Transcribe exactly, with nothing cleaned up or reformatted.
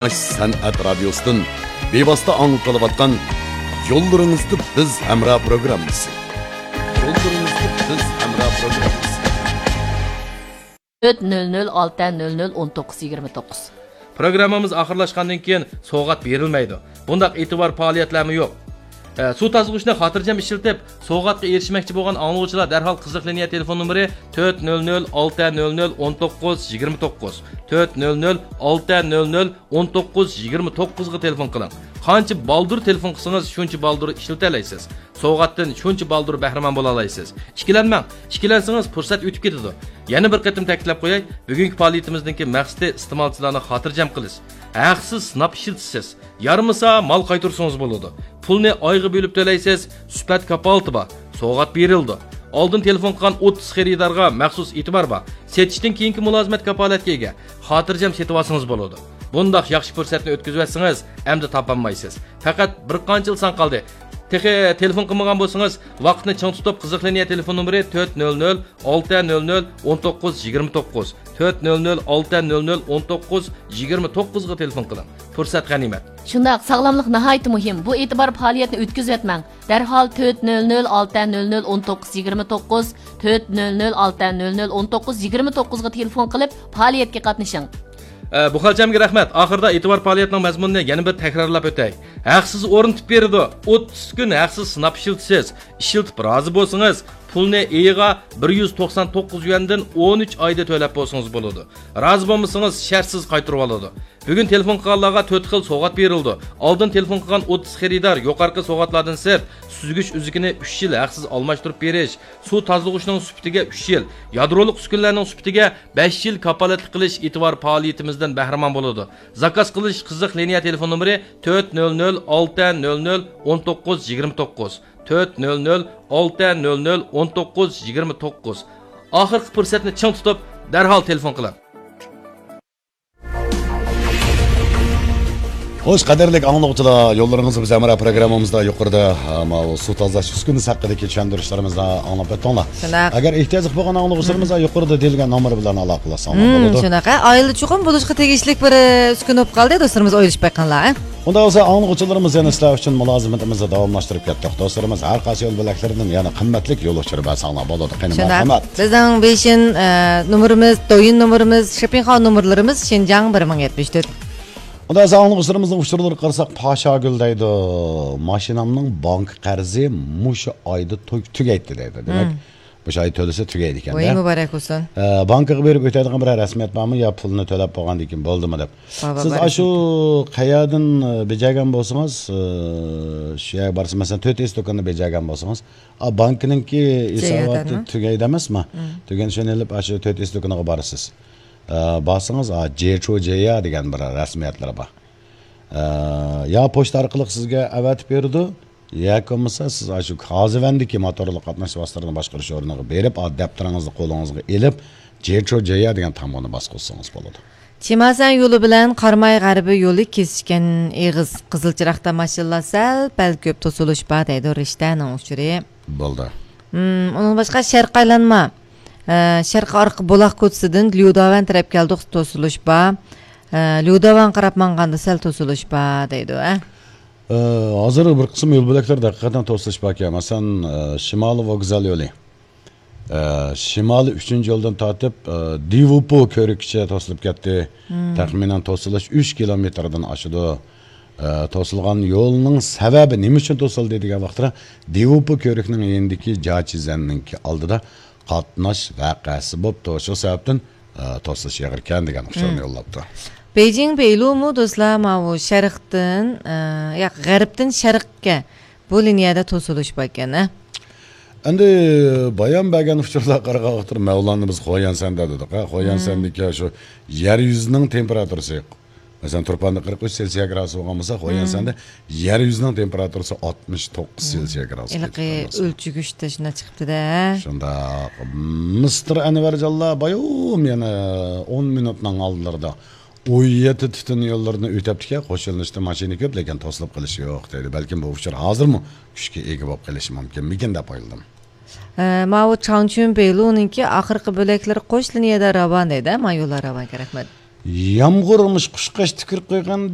سەنئەت رادىيوسىدىن بىۋاسىتە ئاڭلىتىلىۋاتقان يوللىرىڭىزدا بىز ھەمراھ پروگراممىسى. يوللىرىڭىزدا بىز ھەمراھ پروگراممىسى. تۆت نۆل نۆل ئالتە نۆل نۆل ئون توققۇز يىگىرمە توققۇز. پروگراممىمىز ئاخىرلاشقاندىن كېيىن سوۋغات بېرىلمەيدۇ. بۇنداق ئېتىبار پائالىيەتلەرمۇ يوق. ئە، سۇ تازىغۇچنى خاتىرجەم ئىشلىتىپ، سوۋغاتقا ئېرىشمەكچى بولغان ئاڭلىغۇچىلار دەرھال قىزىق لىنىيە تېلېفون نومۇرى تۆت نۆل نۆل ئالتە نۆل نۆل ئون توققۇز يىگىرمە توققۇز، تۆت نۆل نۆل ئالتە نۆل نۆل ئون توققۇز يىگىرمە توققۇزغا تېلېفون قىلىڭ. قانچە بالدۇر تېلېفون قىلسىڭىز، شۇنچە بالدۇر ئىشلىتەلەيسىز. سوۋغاتتىن شۇنچە بالدۇر بەھرىمەن بولالايسىز. ئىككىلەنمەڭ، ئىككىلەنسىڭىز پۇرسەت ئۆتۈپ كېتىدۇ. يەنە بىر قېتىم تەكىتلەپ قوياي، بۈگۈنكى پائالىيىتىمىزنىڭكى مەقسىتى ئىستېمالچىلارنى خاتىرجەم قىلىش. ھەقسىز سىناپ ئىشلىتىسىز. يارىمىسا مال قايتۇرسىڭىز بولىدۇ. پۇلنى ئايغا بۆلۈپ تۆلەيسىز، سۈپەت كاپالىتى بار، سوۋغات بېرىلىدۇ. ئالدىن تېلېفون قىلغان ئوتتۇز خېرىدارغا مەخسۇس ئېتىبار بار. سېتىشتىن كېيىنكى مۇلازىمەت كاپالەتكە ئىگە. خاتىرجەم سېتىۋالسىڭىز بولىدۇ. بۇنداق ياخشى پۇرسەتنى ئۆتكۈزۈۋەتسىڭىز، ئەمدى تاپالمايسىز. پەقەت بىر قانچىلا سان قالدى. تېخى تېلېفون قىلمىغان بولسىڭىز، ۋاقىتنى چىڭ تۇتۇپ، قىزىق لىنىيە تېلېفون نومۇرى تۆت نۆل نۆل ئالتە نۆل نۆل ئون توققۇز يىگىرمە توققۇز، تۆت نۆل نۆل ئالتە نۆل نۆل ئون توققۇز يىگىرمە توققۇزغا تېلېفون قىلىڭ. پۇرسەت غەنىيمەت. شۇنداق، ساغلاملىق ناھايىتى مۇھىم. بۇ ئېتىبار پائالىيەتنى ئۆتكۈزۈۋەتمەڭ. دەرھال تۆت نۆل نۆل ئالتە نۆل نۆل ئون توققۇز يىگىرمە توققۇز، تۆت نۆل نۆل ئالتە نۆل نۆل ئون توققۇز يىگىرمە توققۇزغا تېلېفون قىلىپ، پائالىيەتكە قاتنىشىڭ. ئە، بۇ خەلچەمگە رەھمەت. ئاخىرىدا ئېتىبار پائالىيەتنىڭ مەزمۇنىنى يەنە بىر تەكرارلاپ ئۆتەي. ھەقسىز ئورنىتىپ بېرىدۇ. ئوتتۇز كۈن ھەقسىز سىناپ ئىشلىتىسىز. ئىشلىتىپ رازى بولسىڭىز، پۇلنى ئېيىغا بىر يۈز توقسان توققۇز يۈەندىن ئون ئۈچ ئايدا تۆلەپ بولسىڭىز بولىدۇ. رازى بولمىسىڭىز، شەرتسىز قايتۇرۇۋالىدۇ. بۈگۈن تېلېفون قىلغانلارغا تۆت خىل سوۋغات بېرىلىدۇ. ئالدىن تېلېفون قىلغان ئوتتۇز خېرىدار يۇقىرىقى سوۋغاتلاردىن سىرت، سۈزگۈچ ئۈزۈكىنى ئۈچ يىل ھەقسىز ئالماشتۇرۇپ بېرىش، سۇ تازىلىغۇچنىڭ سۈپىتىگە ئۈچ يىل، يادرولۇق ئۈسكۈنىلەرنىڭ سۈپىتىگە بەش يىل كاپالەتلىك قىلىش ئېتىبار پائالىيىتىمىزدىن بەھرىمەن بولىدۇ. زاكاز قىلىش قىزىق لىنىيە تېلېفون نومۇرى تۆت نۆل نۆل ئالتە نۆل نۆل ئون توققۇز يىگىرمە توققۇز، تۆت نۆل نۆل ئالتە نۆل نۆل ئون توققۇز يىگىرمە توققۇز. ئاخىرقى پۇرسەتنى چىڭ تۇتۇپ، دەرھال تېلېفون قىلىڭ. خوش، قەدىرلىك ئاڭلىغۇچىلار، يوللىرىڭىز بىز ھەمراھ پروگراممىمىزدا يۇقىرىدا، ھە، ماۋۇ سۇ تازىلاش ئۈسكۈنىسى ھەققىدىكى چۈشەندۈرۈشلىرىمىزنى ئاڭلاپ ئۆتتۈڭلار. شۇنداق. ئەگەر ئېھتىياجلىق بولغان ئاڭلىغۇچىلىرىمىز يۇقىرىدا دېيىلگەن نومۇر بىلەن ئالاقىلەشسەڭلار مم، بولىدۇ. شۇنداق. ھە، ئائىلە چوقۇم بولۇشقا تېگىشلىك بىر، ئە، ئۈسكۈنە بولۇپ قالدى، دوستلىرىمىز ئويلىشىپ باققانلار، ھە؟ ئۇنداق بولسا، ئاڭلىغۇچىلىرىمىز يەنە سىلەر ئۈچۈن مۇلازىمىتىمىزنى داۋاملاشتۇرۇپ كەتتۇق. دوستلىرىمىز ھەر قايسى يول بۆلەكلىرىدىن يەنە قىممەتلىك يول ئۇچۇرى بەرسەڭلار بولىدۇ. قېنى، شۇنداق. مەرھەمەت. بىزنىڭ بېيجىڭ، ئە، نومۇرىمىز، دويىن نومۇرىمىز، شېپىڭخاۋ نومۇرلىرىمىز شىنجاڭ بىر مىڭ يەتمىش تۆت. ئۇنداق بولسا، ئاڭلىغۇچىلىرىمىزنىڭ ئۇچۇرلىرىغا قارىساق، پاشاگۈل دەيدۇ، ماشىنامنىڭ بانكا قەرزى مۇشۇ ئايدا تۈ-، تۈگەيتتى دەيدۇ. دېمەك، مم. مۇشۇ ئاي تۆلىسە تۈگەيدىكەن-دە. ۋاي، مۇبارەك بولسۇن. ئە، بانكىغا بېرىپ ئۆتەيدىغان بىرەر رەسمىيەت بارمۇ يا پۇلنى تۆلەپ بولغاندىن كېيىن بولدىمۇ دەپ؟ بار، بار، سىز بار. ئاشۇ قەيەردىن، ئە، بېجەرگەن بولسىڭىز، ئە، شۇ يەرگە بارسا، مەسىلەن، تۆت ئېس دۇكاننى بېجەرگەن بولسىڭىز، ئا، بانكىنىڭكى ھېساباتى جەييادەنمۇ؟ تۈگەيدۇ ئەمەسمۇ؟ مم. تۈگەن شۇنى ئېلىپ، ئاشۇ تۆت ئېس دۇكىنىغا بارىسىز. ئە، بارسىڭىز، ئا، جېچۇ جېييا دېگەن بىر رەسمىيەتلىرى بار. ئە، يا پوچتا ئارقىلىق سىزگە ئەۋەتىپ بېرىدۇ، ياكى بولمىسا سىز ئاشۇ كازىۋەندىكى موتورلۇق قاتناش ۋاسىتىلىرىنى باشقۇرۇش ئورنىغا بېرىپ، ئا، دەپتىرىڭىزنى قولىڭىزغا ئېلىپ، جېچۇ جېييا دېگەن تامغىنى باسقۇزسىڭىز بولىدۇ. چىمەنسەن يولى بىلەن قاراماي غەربىي يولى كېسىشكەن ئېغىز. قىزىل چىراغدا ماشىنىلار سەل-پەل كۆپ توسۇلۇش بار دەيدۇ رىشتەنىڭ ئۇچۇرى. بولدى. مم، ئۇنىڭ باشقا شەرقىي ئايلانما، ئە، شەرقىي ئارقا بۇلاق كوچىسىدىن ليۇداۋەن تەرەپكە كەلدۇق توسۇلۇش بار. ئە، ليۇداۋەنگە قاراپ ماڭغاندا سەل توسۇلۇش بار دەيدۇ، ئە. ئە، ھازىر بىر قىسىم يول بۆلەكلەردە ھەقىقەتەن توسۇلۇش باركەن. مەسىلەن، ئە، شىمالىي ۋوگزال يولى. ئە، شىمالىي ئۈچىنچى يولدىن تارتىپ، ئە، دىۋۇپۇ كۆۋرۈكىگىچە توسۇلۇپ كەتتى. مم. تەخمىنەن توسۇلۇش ئۈچ كىلومېتىردىن ئاشىدۇ. ئە، توسۇلغان يولنىڭ سەۋەبى نېمە ئۈچۈن توسۇلدى دېگەن ۋاقىتتا، دىۋۇپۇ كۆۋرۈكنىڭ يېنىدىكى جاچىزەننىڭكى ئالدىدا قاتناش ۋەقەسى بوپتۇ. شۇ سەۋەبتىن، ئە، توسۇلۇش ئېغىركەن دېگەن ئۇچۇرنى مم. يوللاپتۇ. بېيجىڭ بېيلۇمۇ دوستلار، ماۋۇ شەرقتىن، ئە، ياق، غەربتىن شەرققە بۇ لىنىيەدە توسۇلۇش باركەن، ھە؟ ئەمدى بايان بەرگەن ئۇچۇرلارغا قارىغان ۋاقىتتا مەۋلاننى بىز خويەنسەندە دېدۇق، ھە؟ خويەنسەندىكى شۇ يەر يۈزىنىڭ تېمپېراتۇرىسى، مەسىلەن، تۇرپاندا قىرىق ئۈچ سېلسىيە گرادۇس بولغان بولسا، خويەنسەندە يەر يۈزىنىڭ تېمپېراتۇرىسى ئاتمىش توققۇز سېلسىيە گرادۇسقا ھېلىقى يېتىپ قالغان. ئۆلچىگۈچتە شۇنداق چىقىپتۇ-دە. شۇنداق. مىستېر ئەنۋەرجانلار بايام يەنە ئون مىنۇتنىڭ ئالدىلىرىدا ئون يەتتە تۈتۈن يوللىرىنى ئۆتەپتىكەن، قوشۇلۇشتا ماشىنا كۆپ، لېكىن توسۇلۇپ قېلىش يوق دەيدۇ. بەلكىم بۇ ئۇچۇر ھازىرمۇ كۈچكە ئىگە بولۇپ قېلىشى مۇمكىنمىكىن دەپ ئويلىدىم. ئە، ماۋۇ چاڭچۈن بېيلۇنىڭكى ئاخىرقى بۆلەكلىرى قوش لىنىيەدە راۋان دەيدۇ، ما يوللار راۋانكەن، رەھمەت. يامغۇرمۇش قۇشقاچ تۈكۈرۈپ قويغان.